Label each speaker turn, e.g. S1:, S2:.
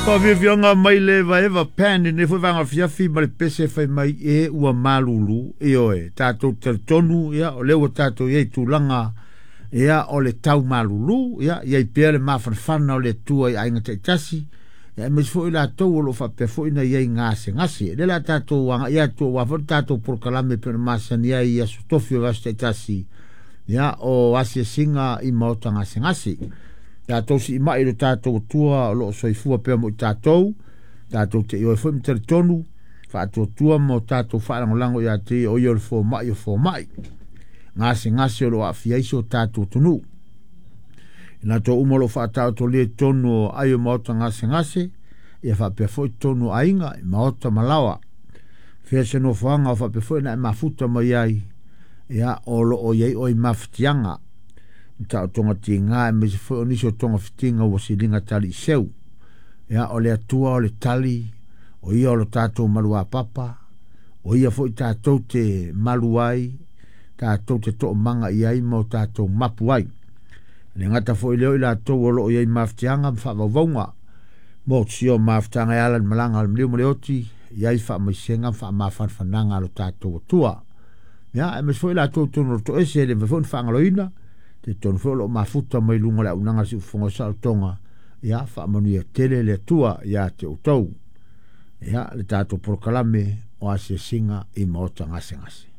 S1: Faafiafiaga mai le Evaeva Pan i lenei foi vaega afiafi ma le pese fai mai e ua malulu. Ioe, tatou talitonu, ia, o lea ua tatou i ai i tulaga, ia, o le tau malulu, ia, i ai pea le mafanafana o le Atua i aiga taitasi, ia, aemaise foi latou o lo o faapea foi ona i ai gasegase. O lea o le a tatou agai atu aua foi le tatou polokalame e pei ona masani ai i aso tofi o aso taitasi, ia, o asiasiga i maota gasegase. Tatou siimai i lo tatou Atua o lo o soifua pea mo i tatou, tatou te ioe foi ma talitonu, faatuatua ma o tatou faalagolago ia te ia o ia o le fomai o fomai. Gasegase o lo o aafia ai si o tatou atunuu. I latou uma o lo o faataotolia i totonu o ai o maota gasegase, ia faapea foi totonu o aiga, i maota ma laoa. Fea se nofoaga o faapea foi ona e mafuta mai ai, ia o lo o i ai oe i mafatiaga. Taotoga tiga aemaise foi o nisi o togafitiga ua siliga taliiseu. Ia, o le Atua o le tali, o ia o lo tatou maluapapa, o ia foi tatou te malu ai, tatou te toomaga i ai ma o tatou mapu ai. E le gata foi lea o i latou o lo o i ai mafatiaga ma faavauvauga, motusia o mafutaga e ala i le malaga a le maliu ma le oti, i ai faamaisega ma faamafanafanaga a lo tatou Atua. Ia, aemaise foi latou totonu o le toese e le mafai foi ona faagaloina, talitonu foi o lo o mafuta mai luga o le auaunaga a le Siufofoga o Saolotoga, ia faamanuia tele le Atua ia te outou. Ia, le tatou polokalame o asiasiga i maota gasegase.